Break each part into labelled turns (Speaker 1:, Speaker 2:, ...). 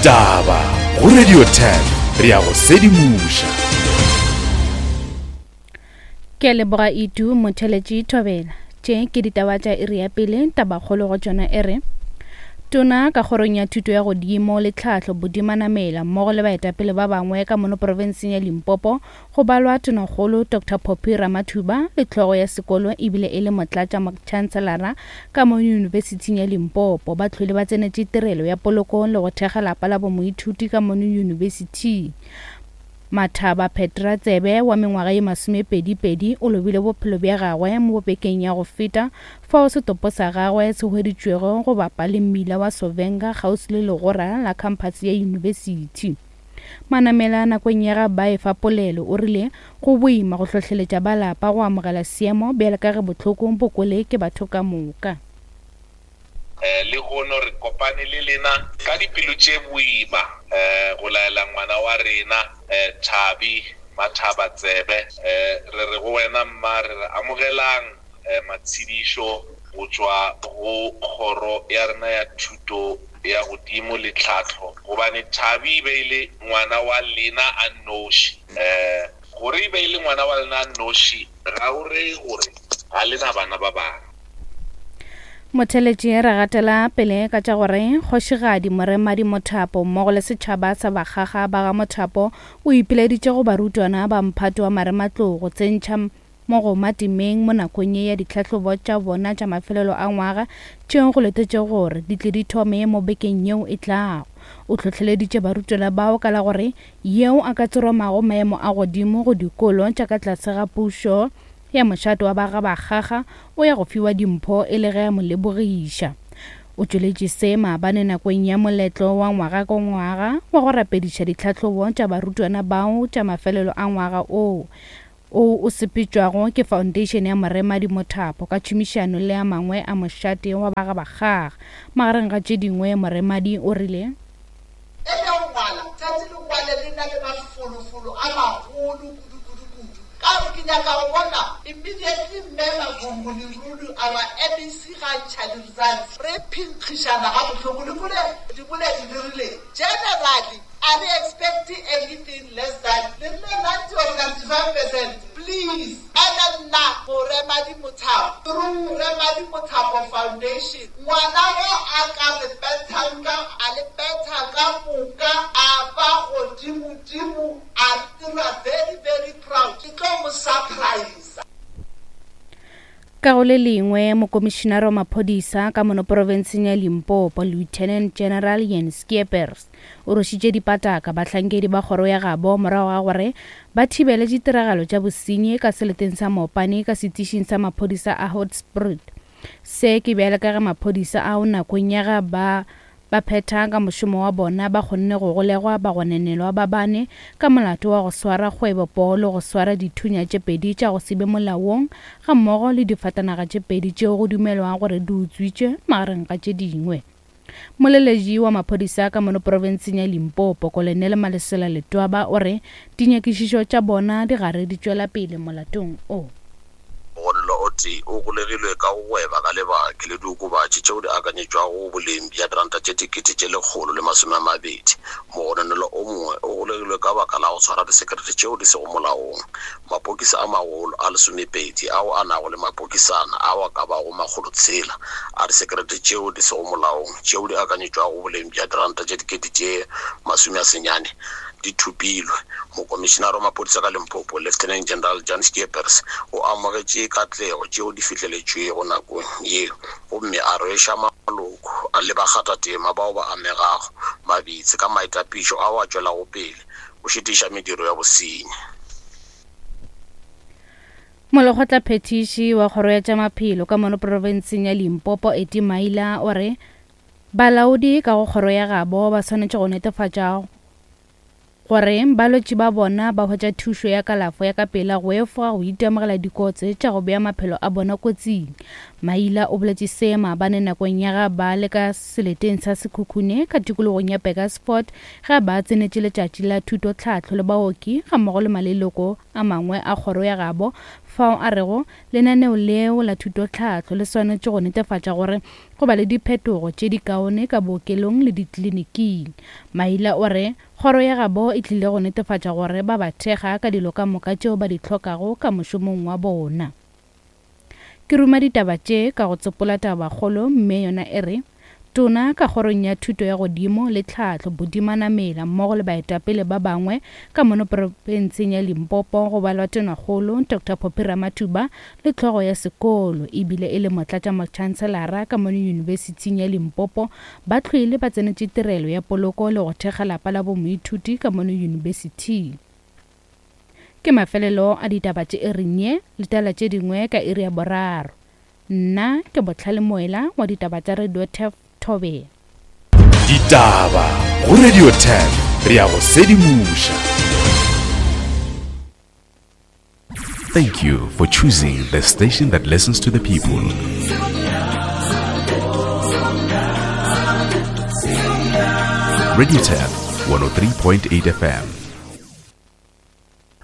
Speaker 1: Ditaba go Radio 10 re a go sedimoša.
Speaker 2: Ke a leboga Itu Motheletši Thobela. Tše ke ditaba tša iri ya pele, tabakgolo go tšona e re Tona ka kgorong ya thuto ya godimo le tlhahlo Bodimanamela mmogo le baetapele ba bangwe ka mono profenseng ya Limpopo go balwa Tonakgolo Doctor Phophi Ramathuba le hlogo ya sekolo ebile e le motlatša motšhanselara ka mo Yunibesithing ya Limpopo ba hlwele ba tsenetše tirelo ya poloko le go thekga lapa la bomoithuti ka mono yunibesithing. Mathaba Petra Tsebe wa mengwaga ye masomepedi-pedi o lobile bophelo bja gagwe mo bekeng ya go feta fao setopo sa gagwe se hweditšwego go bapa le mmila wa Sovenga kgauswi le legora la khamphase ya yunibesithi. Manamela nakong ya ga ba efa polelo o rile go boima go hlohleletša ba lapa go amogela seemo bjalo ka ge bohloko bo kwele ke batho ka moka.
Speaker 3: Lehono re kopane le lena ka dipelo tše boima go laela ngwana wa rena Thabi Mathaba tsebe. Re re go wena mma, re re amogelang matshedišo go tšwa go kgoro ya rena ya thuto ya godimo le tlhahlo, gobane Thabi e be e le ngwana wa lena a nnoši. Gore e be e le ngwana wa lena a nnoši ga o reye gore ga le na bana ba bangwe.
Speaker 2: Motheletši re gatela pele ka tša gore Kgošigadi Moremadi Mothapo mmogo le setšhaba sa Bakgaga ba ga Mothapo o ipileditše go barutwana ba mphato wa marematlou go tsentšha mogoma temeng mo nakong ye ya ditlhahlobo tša bona tša mafelelo a ngwaga tšeo go letetšego gore di tle di thome mo bekeng yeo e tlago. O hlohleleditše barutwana bao ka la gore yeo a ka tseromago maemo a godimo go dikolo tša ka tlase ga pušo ya mošate wa ba ga Bakgaga o ya go fiwa dimpho e le ge a mo lebogiša. O tšweletše se maabane nakong ya moletlo wa ngwaga ka ngwaga wa go rapediša ditlhahlobo tša barutwana bao tša mafelelo a ngwaga oo o o sepetšwago ke Foundation ya Moremadi Mothapo ka tšhomišano le a mangwe a mošate wa ba ga Bakgaga. Magareng ga tše dingwe Moremadi o rile.
Speaker 4: E ya go ngwala, tšatši le ngwale le na le mafolofolo a magolo kudu, kudu, kudu. Ka gore ke nyaka go bona immediately Mme Mavhungu Lerulu, our MEC ga a ntšha di-results, re phenkgišana gabohloko. Le kwele diboledi di rile, Generally, a re expect-e anything less than, le rile 90 or 95 percent. Please. Ene nna Moremadi Mothapo, through Remadi Mothapo Foundation, ngwana wo a ka re bethang ka, a le betha ka moka, a ba godimodimo, a re dira very, very proud. Ke tlo mo surprise.
Speaker 2: Ka go le lengwe, Mokomišinara wa Maphodisa ka mono porofenseng ya Limpopo, Lieutenant General Jan Skeepers, o rwešitše dipataka bahlankedi ba kgoro ya gabo morago ga gore ba thibele ditiragalo tša bosenyi ka seleteng sa Mopani ka setišing sa maphodisa a Hoedspruit. Se ke bjale ka ge maphodisa ao nakong ya ge ba Ba phetha ka mošomo wa bona ba kgonne go golegwa bagonenelwa ba bane ka molato wa go swara kgwebo poo le go swara dithunya tše pedi tša go se be molaong gammogo le difatanaga tše pedi tšeo go dumelwago gore di utswitšwe magareng ga tše dingwe. Moleletši wa maphodisa ka mono profenseng ya Limpopo, Kolonele Malesela Letwaba o re dinyakišišo tša bona di gare di tšwela pele molatong o.
Speaker 5: Mogononelwa o tee o golegilwe ka go gweba ka lebake le diokobatši tšeo di akanyetšwago go boleng bja diranta tše 120,000. Mogononelwa o mongwe o golegilwe ka baka la go tshwara disekerete tšeo di sego molaong. Mapokisi a magolo a lesomepedi ao a nago le mapokisana ao a ka bago makgolotshela a disekerete tšeo di sego molaong tšeo di akanyetšwago go boleng bja diranta tše 9,000 di thopilwe. Mokomišinara wa maphodisa ka Limpopo, Lieutenant General Jan Scheepers, o amogetše katlego tšeo di fihleletšwego nakong ye gomme a rweša maloko le bakgathatema bao ba amegago mabitse ka maitapišo ao a tšwelago pele go šitiša mediro ya bosenyi.
Speaker 2: Molekgotlaphethiši wa Kgoro ya tša Maphelo ka mono profenseng ya Limpopo, Eddie Maila, o re balaodi ka go kgoro ya gabo ba swanetše go netefatša gore balwetši ba bona ba hwetša thušo ya kalafo ya ka pela go efoga go itemogela dikotsi tša go bea maphelo a bona kotsing. Maila o boletše se maabane nakong ya ga ba le ka seleteng sa Sekhukhune ka tikologong ya Burgersfort ge ba tsenetše letšatši la thutotlhahlo le baoki gammogo le maleloko a mangwe a kgoro ya gabo. fao a rego lenaneo leo la thutotlhahlo le swanetše go netefatša gore go ba le diphetogo tše di kaone ka bookelong le dikliniking. Maila o re kgoro ya gabo e tlile go netefatša gore ba ba thekga ka dilo ka moka tšeo ba di hlokago ka mošomong wa bona. Ke ruma ditaba tše ka go tsopola tabakgolo mme yona e re, Tona ka kgorong ya thuto ya godimo le tlhahlo Buti Manamela mmogo le baetapele ba bangwe ka mono profenseng ya Limpopo go balwa Tonakgolo Doctor Phophi Ramathuba le hlogo ya sekolo ebile e le motlatšamotšhanselara ka mono Yunibesithing ya Limpopo ba hlwele ba tsenetše tirelo ya poloko le go thekga lapa la bomoithuti ka mono yunibesithing. Ke mafelelo a ditaba tše iring ye, letela tše dingwe ka iri ya boraro. Nna ke Bohlale Moela wa ditaba tša Radio Turf Thobela.
Speaker 1: Ditaba go Radio Turf, re a go sedimoša. Thank you for choosing the station that listens to the people. Radio Tap 103.8 FM.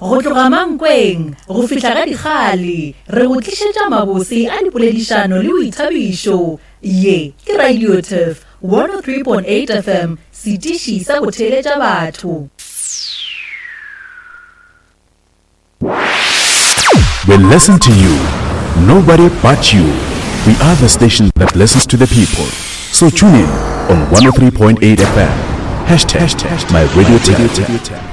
Speaker 6: Go tloga Mankweng go fihla ga Dikgale, re go tlišetša mabose a dipoledišano le boithabišo. Ye ke Radio Turf 103.8 FM, setiši sa go theeletša batho.
Speaker 1: We listen to you, nobody but you. We are the station that listens to the people. So tune in on 103.8 FM. Hashtag my radio tap.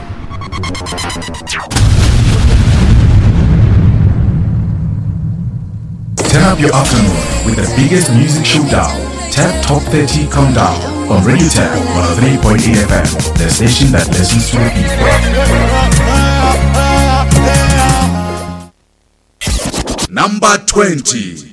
Speaker 1: Turn up your afternoon with the biggest music showdown. Tap Top 30 Countdown on Radio Tap 103.8 FM, the station that listens to the people. Number 20.